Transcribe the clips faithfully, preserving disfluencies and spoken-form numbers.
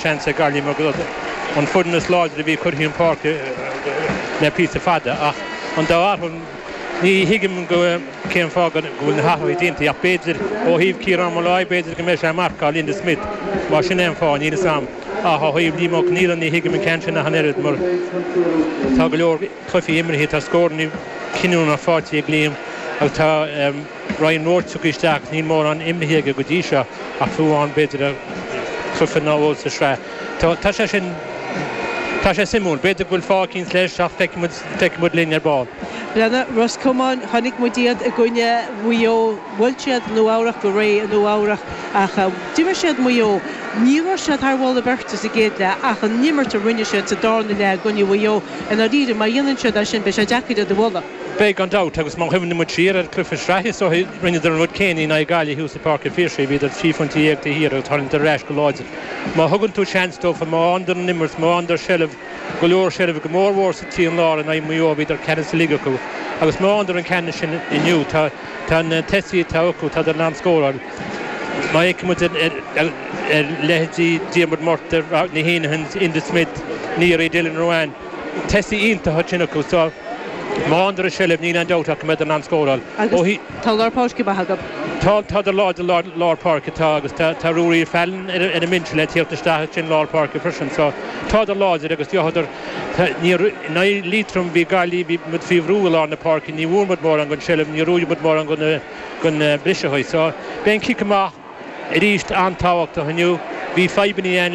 seans ag Gaillimh mar an foireann is láidre a bhí curtha chun páirce le píosa fada ach an dá athrú ní thuigim go cén fáth go bhfuil na hathruithe déanta ach b'fhéidir ó thaobh Ciarán Molloy b'fhéidir go mbeidh sé ag marcáil Enda Smith mar sin é an fáth níl a fhios agam ach ó thaobh Liam Ó Conghaile ní thuigim an ceann sin ach an oiread mar tá go leor cluichí imeartha tá scóranna cinniúnacha faighte ag Liam agus tá Ryan Roche tugtha isteach níl mórán imeartha aige go dtí seo ach fiú amháin b'fhéidir cluiche nó dhó sa sraith. Tá sé sin Tá sé suimiúil, b'fhéidir go bhfuil fáth eicínt leis ach feicfidh muid linn ar ball. Breathnaigh, Ros Comáin, chonaic muid iad i gcoinne Mhaigh Eo, bhuail siad Nua Eabhrach go réidh i Nua Eabhrach ach d'imir siad Maigh Eo. Ní raibh siad thar mholadh beirte sa gcéad leath ach an imirt a rinne siad sa darna leath i gcoinne Mhaigh Eo i ndáiríre má dhéanann siad é sin beidh sé deacair iad a bhualadh. Beidh gan dabht agus má chuimhníonn muid siar ar chluiche sraithe so rinneadar an rud céanna in aghaidh Gaillimh thuas i Páirc an Phiarsaigh, bhíodar trí phointe dhéag taobh thiar agus tharraingíodar ar ais go láidir. Má thugann tú seans dófa, má fhaigheann an imirt, má fhaigheann seilbh go leor seilbh go mór mhór sa trian lár in aghaidh Mhaigh Eo bhíodar ceannas uilig acu agus má fhaigheann an ceannas sin inniu tá tá na tosaithe atá acu tá in ann scóráil. Má fhéachann muid ar ar leithéidí Diarmuid Murtagh, na Henahans, Enda Smith, Neary Dylan Ruane, tosaithe iontacha sin acu so má fhaigheann seilbh níl aon dabht ach go mbeidh in ann scóráil. Agus tá lár páirce maith acu. Tá tá láidir lár, lár páirce tá agus tá tá Ruairí Fallon ar ar an mbinse le tíocht isteach sin lár páirce freisin so tá láidir agus deothadar ní Liatroim bhí Gaillimh bhí muid faoi bhrú i lár na páirce ní bhfuair muid mórán den tseilbh ní raibh muid mórán den den briseadh so beidh an cic amach arís an-tábhachtach inniu bhí fadhbanna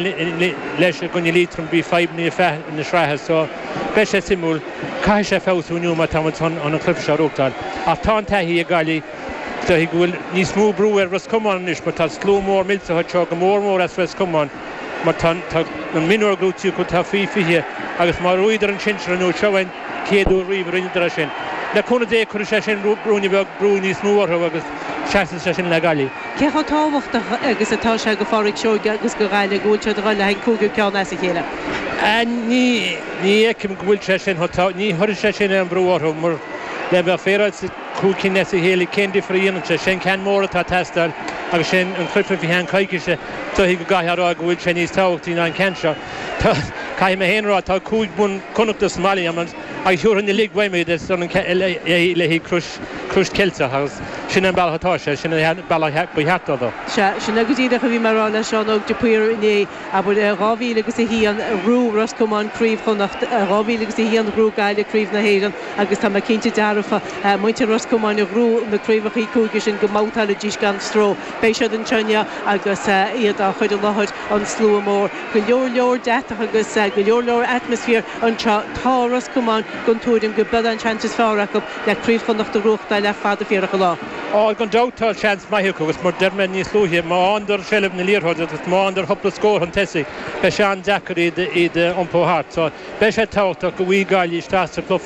leis i gcoinne Liatroim bhí fadhbanna feadh na sraithe so beidh sé suimiúil caithfidh sé feabhsú inniu má tá an an cluiche seo a bhuachtáil ach tá an taithí ag Gaillimh go bhfuil níos mó brú ar Ros Comáin anois mar tá slua mór millteach seo go mór mór as Ros Comáin mar tá an mionúr grútí tá faoi fiche agus má bhuadar an sinsear nó seo an chéad uair riamh rinneadar sin. Le cúnamh Dé chuir sé sin brúine bheag brú níos mó orthu agus seasann sé sin le Gaillimh. Cé chomh tábhachtach agus atá sé go Phádraic Seoige agus go Gaillimh go bhfuil siad le an cúigiú ceann as a chéile. Ní ní fheicim go bhfuil sé sin ní chuirfidh sé sin an brú orthu mar le bheith féaráilte cúig cinn as a chéile cén difear a dhéanann sé sin ceann mór atá teastáil agus sin an cluiche faoi cheann coicíse tuí go gcaithfear go bhfuil sé níos tábhachtaí ná an ceann seo. Caithfidh mé féin a rá tá cúig bonn Connachta sa mbaile agus thiúrfainn uilig uaim le Crois Crois Ceilteach agus sin an bealach atá sé sin an bealach ba cheart dó. Se sin go díreach a bhí mé ag rá le Seán Óg de Paor inné abair dhá mhíle agus a haon bhuaigh Ros Comáin Craobh Chonnacht dhá mhíle agus a haon bhuaigh Gaillimh Craobh na hÉireann agus tá mé cinnte dearfa muintir Ros Comáin a bhuaigh na craobhacha cúige sin go mbabhtáilfidís gan stró. Beidh siad anseo agus iad á chur i láthair an slua mór. Go leor leor deatach agus go leor leor atmaisféar anseo tá Ros Comáin den tuairim go b'é an seans is fearr acu le Craobh Chonnacht a bhuachtáil le fada fíorach an lá. Á gan dabht tá seans maith acu agus mar deir mé níos luaithe má fhaigheann seilbh na liathróide agus má fhaigheann cúpla scór chun tosaigh beidh sé an-deacair iad iad iompó thart, so beidh sé tábhachtach go bhfaighidh Gaillimh isteach sa cluiche